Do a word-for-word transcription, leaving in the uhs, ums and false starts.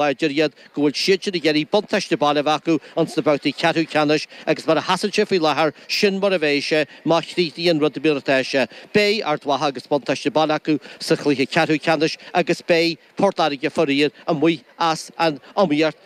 láidir iad, go bhfuil siadsan ag iarraidh buntáiste baile a bheith acu ins na babhtaí ceathrú ceannais agus mar a sheasann sé faoi láthair, sin mar a bheidh sé má chríochnaíonn rudaí mar atá sé. Beidh Ard Mhacha agus buntáiste baile acu sa chluiche ceathrú ceannais agus beidh Port Láirge faraor amuigh as an iomaíocht.